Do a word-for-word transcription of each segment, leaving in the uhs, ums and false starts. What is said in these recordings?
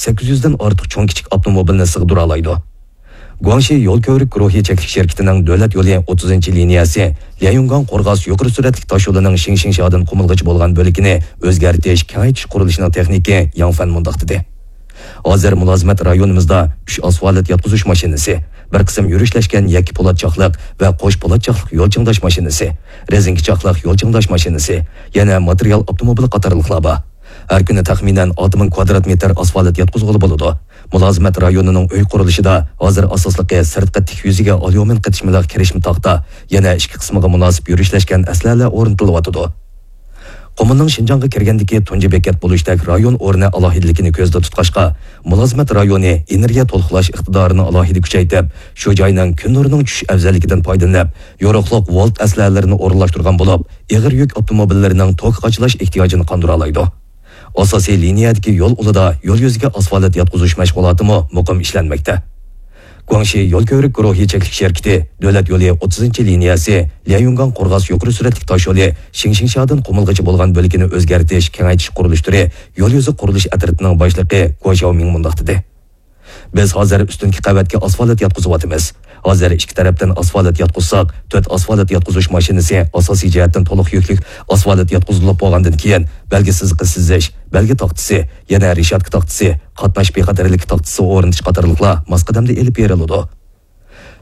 سەككىز يۈزدىن ئارتۇق چوڭ كىچىك ئاپتوموبىلنى سىغدۇرالايدۇ. گۇاڭشى يول كۆۋرۈك گۇرۇھى چەكلىك شىركىتىنىڭ دۆلەت يولى ئوتتۇزىنچى لىنىيەسى ليەنيۈنگاڭ قورغاس يۇقىرى سۈرئەتلىك تاشيولىنىڭ شىڭشىڭشيادىن قۇمۇلغىچە بولغان بۆلىكىنى ئۆزگەرتىش، كېڭەيتىش قۇرۇلۇشىنىڭ تېخنىكى ياڭ فەن مۇنداق دېدى: ھازىر مۇلازىمەت رايونىمىزدا ئۈچ ئاسفالت ياتقۇزۇش ماشىنىسى، بىر قىسىم يۈرۈشلەشكەن يەككە پولات چاقلىق ۋە قوش پولات چاقلىق يول چىڭداش ماشىنىسى، رېزىنكە چاقلىق يول چىڭداش ماشىنىسى، يەنە ماتېرىيال ئاپتوموبىلى قاتارلىقلار بار. ھەر كۈنى تەخمىنەن ئالتە مىڭ كۋادرات مېتىر ئاسفالت ياتقۇزغىلى بولىدۇ. مۇلازىمەت رايونىنىڭ ئۆي قۇرۇلۇشىدا ھازىر ئاساسلىقى سىرتقى تىك يۈزىگە ئاليۇمىن قېتىشمىلىق كىرىشمە تاختا، يەنە ئىچكى قىسمىغا مۇناسىپ يۈرۈشلەشكەن ئەسلىھەلەر ئورنىتىلىۋاتىدۇ. قۇمۇلنىڭ شىنجاڭغا كىرگەندىكى تۇنجى بېكەت بولۇشتەك رايون ئورنى ئالاھىدىلىكىنى كۆزدە تۇتقاچقا، مۇلازىمەت رايونى ئېنېرگىيە تولۇقلاش ئىقتىدارىنى ئالاھىدە كۈچەيتىپ، شۇ جاينىڭ كۈن نۇرىنىڭ چۈشۈش ئەۋزەللىكىدىن پايدىلىنىپ، يورۇقلۇق ۋولت ئەسلىھەلىرىنى ئورۇنلاشتۇرغان بولۇپ، ئېغىر يۈك ئاپتوموبىللىرىنىڭ توك قاچىلاش ئېھتىياجىنى قاندۇرالايدۇ. ئاساسىي لىنىيەدىكى يول ئۇلىدا يول يۈزىگە ئاسفالت ياتقۇزۇش مەشغۇلاتىمۇ مۇقىم ئىشلەنمەكتە. گۇاڭشى يول كۆۋرۈك گۇرۇھى چەكلىك شىركىتى دۆلەت يولى ئوتتۇزىنچى لىنىيەسى ليەنيۈنگاڭ قورغاس يۇقىرى سۈرئەتلىك تاشيولى شىڭشىڭشيادىن قۇمۇلغىچە بولغان بۆلىكىنى ئۆزگەرتىش، كېڭەيتىش قۇرۇلۇش تۈرى يول يۈزى قۇرۇلۇش ئەترىتىنىڭ باشلىقى گۇا شياۋمىڭ مۇنداق دېدى: بىز ھازىر ئۈستۈنكى قەۋەتكە ئاسفالت ياتقۇزۇۋاتىمىز. ھازىر ئىككى تەرەپتىن ئاسفالت ياتقۇزساق، تۆت ئاسفالت ياتقۇزۇش ماشىنىسى ئاساسىي جەھەتتىن تولۇق يۈكلۈك ئاسفالت ياتقۇزۇلۇپ بولغاندىن كېيىن، بەلگە سىزىقى سىزىش، بەلگە تاختىسى، يەنە رېشاتكا تاختىسى، قاتناش بىخەتەرلىكى تاختىسى ئورنىتىش قاتارلىقلار ماس قەدەمدە ئېلىپ بېرىلىدۇ.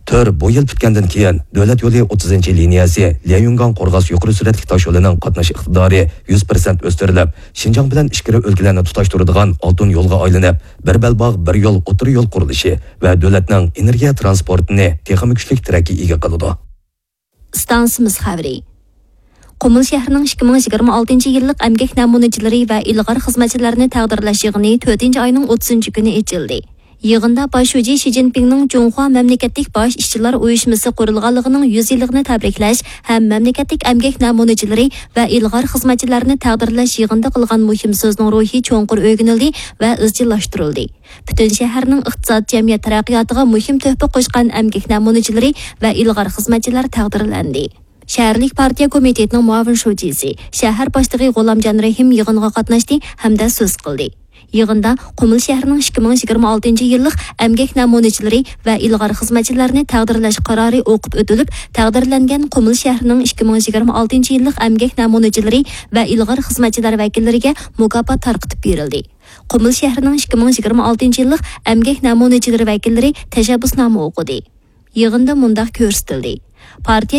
تۈر بۇ يىل پۈتكەندىن كېيىن، دۆلەت يولى ئوتتۇزىنچى لىنىيەسى ليەنيۈنگاڭ قورغاس يۇقىرى سۈرئەتلىك تاشيولىنىڭ قاتناش ئىقتىدارى يۈز پىرسەنت ئۆستۈرۈلۈپ، شىنجاڭ بىلەن ئىچكىرى ئۆلكىلەرنى تۇتاشتۇرىدىغان ئالتۇن يولغا ئايلىنىپ، بىر بەلباغ، بىر يول ئوتتۇرا يول قۇرۇلۇشى ۋە دۆلەتنىڭ ئېنېرگىيە ترانسپورتىنى تېخىمۇ كۈچلۈك تىرەككە ئىگە قىلىدۇ. ئىستانسىمىز خەۋىرى. قۇمۇل شەھىرىنىڭ ئىككى مىڭ يىگىرمە ئالتىنچى يىللىق ئەمگەك نەمۇنىچىلىرى ۋە ئىلغار خىزمەتچىلەرنى تەقدىرلەش يىغىنى تۆتىنچى ئاينىڭ ئوتتۇزىنچى كۈنى ئېچىلدى. يىغىندا باش شۇجى شى جىنپىڭنىڭ جۇڭخۇا مەملىكەتلىك باش ئىشچىلار ئۇيۇشمىسى قۇرۇلغانلىقىنىڭ يۈز يىللىقىنى تەبرىكلەش ھەم مەملىكەتلىك ئەمگەك نەمۇنىچىلىرى ۋە ئىلغار خىزمەتچىلەرنى تەقدىرلەش يىغىنىدا قىلغان مۇھىم سۆزنىڭ روھى چوڭقۇر ئۆگىنىلدى ۋە ئىزچىللاشتۇرۇلدى. پۈتۈن شەھەرنىڭ ئىقتىساد، جەمئىيەت تەرەققىياتىغا مۇھىم تۆھپە قوشقان ئەمگەك نەمۇنىچىلىرى ۋە ئىلغار خىزمەتچىلەر تەقدىرلەندى. شەھەرلىك پارتىيە كومىتېتىنىڭ مۇئاۋىن شۇجىسى، شەھەر باشلىقى غۇلامجان رەھىم يىغىنغا قاتناشتى ھەمدە سۆز قىلدى. يىغىندا قۇمۇل شەھىرىنىڭ ئىككى مىڭ يىگىرمە ئالتىنچى يىللىق ئەمگەك نەمۇنىچىلىرى ۋە ئىلغار خىزمەتچىلەرنى تەقدىرلەش قارارى ئوقۇپ ئۆتۈلۈپ، تەقدىرلەنگەن قۇمۇل شەھىرىنىڭ ئىككى مىڭ يىگىرمە ئالتىنچى يىللىق ئەمگەك نەمۇنىچىلىرى ۋە ئىلغار خىزمەتچىلەر ۋەكىللىرىگە مۇكاپات تارقىتىپ بېرىلدى. قۇمۇل شەھىرىنىڭ ئىككى مىڭ يىگىرمە ئالتىنچى يىللىق ئەمگەك نەمۇنىچىلىرى ۋەكىللىرى تەشەببۇسنامە ئوقۇدى. يىغىندا مۇنداق كۆرسىتىلدى: پارتىيە